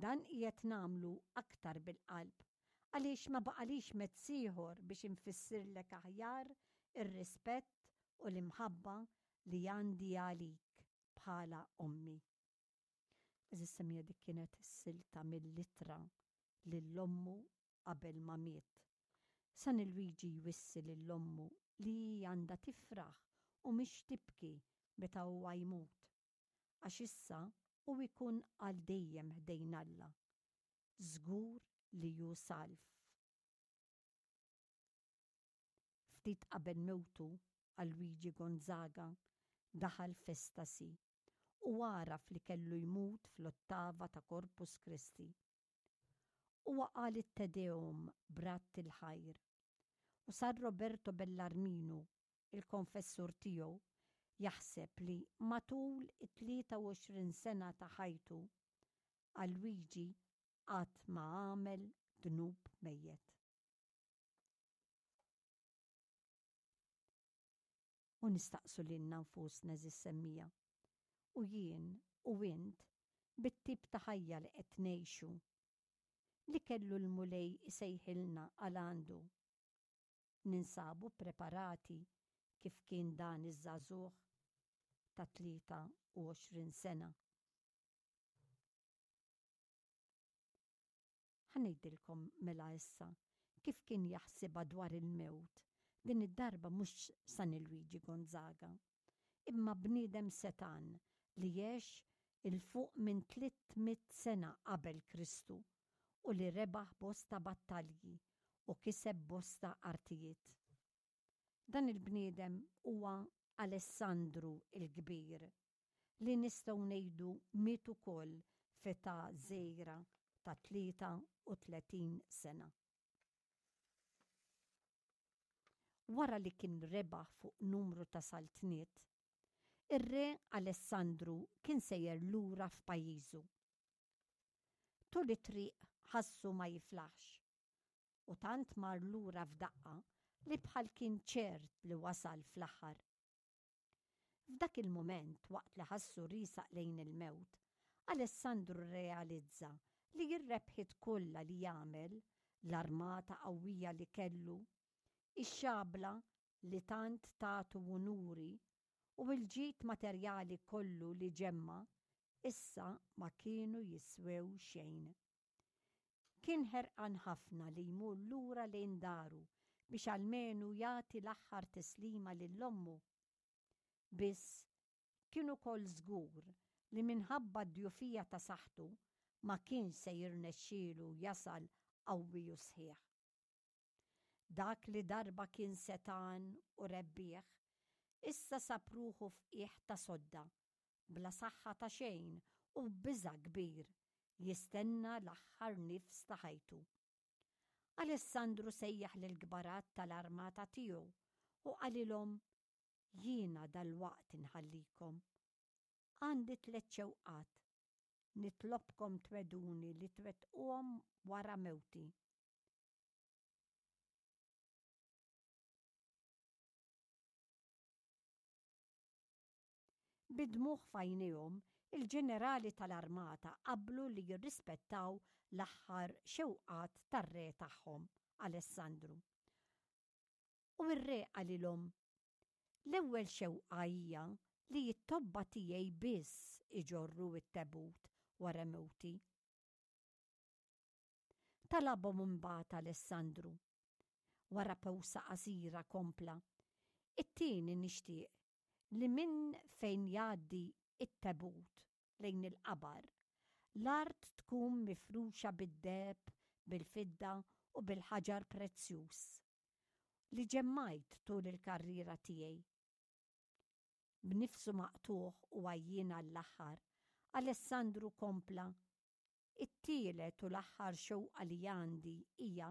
Dan qiegħed nagħmlu aktar bil-qalb għaliex ma baqalix mezz ieħor biex infissirlek aħjar ir-rispett u l-imħabba li għandi għalik bħala ommi. Għeżież semmiegħa dik kienet is-silta mill-ittra lil ommu qabel ma miet. San Lwiġi jwissi lil ommu li hi għandha tifraħ u mhix tibki meta huwa jmut, għax issa hu jkun għal dejjem ħdejn Alla, żgur li hu salv. Ftit qabel mewtu, Alwiġi Gonzaga daħal f'estasi u għaraf li kellu jmut fl-ottava ta' Corpus Christi. Huwa qal it-Te Deum b'radd il-ħajr u San Roberto Bellarminu, il-konfessur tiegħu, jaħseb li matul it-23 sena ta' ħajtu, Alwiġi qatt ma għamel dnub mejjet. U nistaqsu lilna nfusna għeżież semmiegħa, u jien u int bit-tip ta' ħajja li qed ngħixu, li kellu l-Mulej isejħilna għal għandu, ninsabu ppreparati kif kien dan iż-żagħżugħ ta' 23 sena? Ħa ngħidilkom mela issa kif kien jaħsibha dwar il-mewt, din id-darba mhux San Lwiġi Gonzaga, imma bniedem setgħan li għex 'il fuq minn 300 sena qabel Kristu u li rebaħ bosta battalji u kiseb bosta artijiet. Dan il-bniedem huwa Alessandru l-Kbir, li nistgħu ngħidu miet ukoll f'età żgħira ta' 33 sena. Wara li kien rebaħ fuq numru ta' saltniet, ir-Re Alessandru kien sejjer lura f'pajjiżu. Tul it-triq ħassu ma jiflaħx u tant mar lura f'daqqa li bħal kien ċert li wasal fl-aħħar. F'dak il-mument, waqt li ħassu riesaq lejn il-mewt, Alessandru rrealizza li r-rebħiet kollha li għamel, l-armata qawwija li kellu, ix-xabla li tant tatu unuri u l-ġid materjali kollu li ġemma' issa ma kienu jiswew xejn. Kien ħerqan ħafna li jmur lura lejn daru biex almenu jagħti l-aħħar tislima lil ommu. Biss, kien ukoll żgur li minħabba d-djufija ta' saħħtu ma kienx se jirnexxielu jasal qawwi u sħiħ. Dak li darba kien setgħan u rebbieħ, issa sab ruħu f'qiegħ ta' sodda, bla saħħa ta' xejn u b'biża' kbir, jistenna l-aħħar nifs ta' ħajtu. Alessandru sejjaħ lill-kbarat tal-armata tiegħu u qalilhom, Jiena dalwaqt inħallikom. Għandi tlett xewqat. Nitlobkom twegħduni li twettquhom wara mewti. Bid-dmugħ f'għajnejhom, il-ġenerali tal-armata qablu li jirrispettaw l-aħħar xewqat tar-re tagħhom, Alessandru. U r-re qalilhom, L-ewwel xewqa hija li t-tobba tiegħi biss iġorru t-tebut wara mewti. Talabhom imbagħad Alessandru. Wara pewsa qasira kompla, It-tieni nixtieq li minn fejn jgħaddi t-tebut lejn il-qabar, l-art tkun mifruxa bid-deheb, bil-fidda u bil-ħaġar prezzjuż li ġemmajt tul il-karriera tiegħi. B'nifsu maqtugħ u għajjien għall-aħħar, Alessandru kompla, It-tielet u l-aħħar xewqa li għandi hija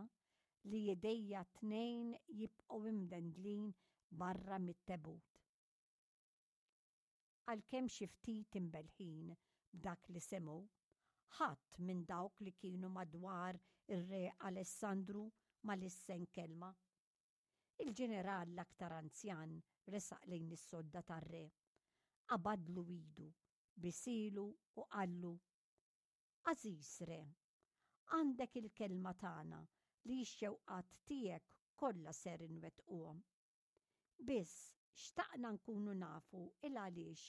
li idejja t-tnejn jibqgħu imdendlin barra mit-tebut. Għalkemm xi ftit imbellħin b'dak li semgħu, ħadd minn dawk li kienu madwar ir-Re Alessandru ma lissen kelma. Il-ġeneral l-aktar anzjan resaq lejn is-sodda tar-re, qabadlu idu, bisilu u qallu, Għażiż Re, għandek il-kelma tagħna li x-xewqat tiegħek kollha ser inwettquhom. Biss xtaqna nkunu nafu il-għaliex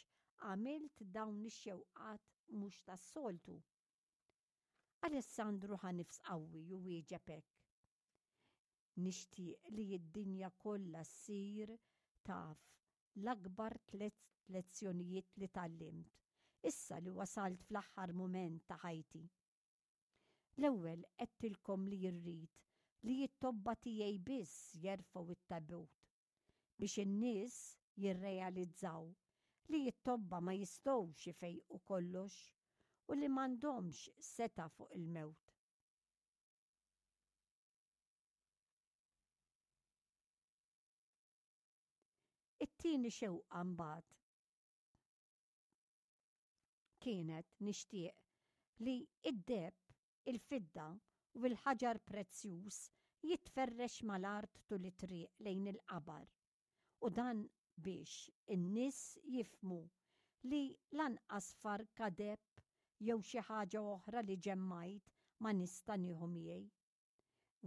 għamilt dawn ix-xewqat mhux tas-soltu. Alessandru ħa nifs qawwi u wieġeb hekk, Nixtieq li d-dinja kollha ssir taf l-akbar tlett lezzjonijiet li tgħallimt, issa li wasalt fl-aħħar mument ta' ħajti. L-ewwel għedtilkom li rrid li t-tobba tiegħi biss jerfgħu t-tabut, biex in-nies jirrealizzaw li t-tobba ma jistgħux ifejqu kollox u li m'għandhomx setgħa fuq il-mewt. It-tieni xewqa mbagħad kienet nixtieq li id-deheb, il-fidda u l-ħaġar prezzjuż jitferrex mal-art tul it-triq lejn il-qabar, u dan biex in-nies jifhmu li lanqas farka deheb jew xi ħaġa oħra li ġemmajt ma nista' nieħu miegħi.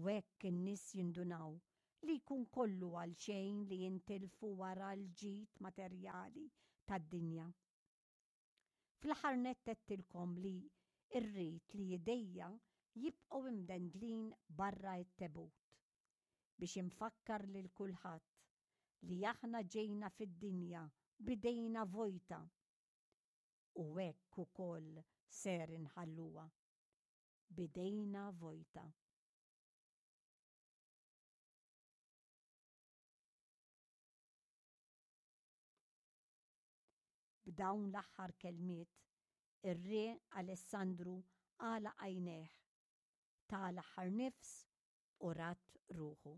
U hekk in-nies jindunaw li jkun kollu għalxejn li jintilfu wara l-ġid materjali tad-dinja. Fl-aħħar nett għedtilkom li rrid li idejja jibqgħu imdendlin barra t-tebut, biex infakkar lil kulħadd li aħna ġejna fid-dinja b'idejna vojta u hekk ukoll ser inħalluha. b'idejna vojta. B'dawn l-aħħar kelmiet, ir-Re Alessandru għalaq għajnejh, ta l-aħħar nifs u radd ruħu.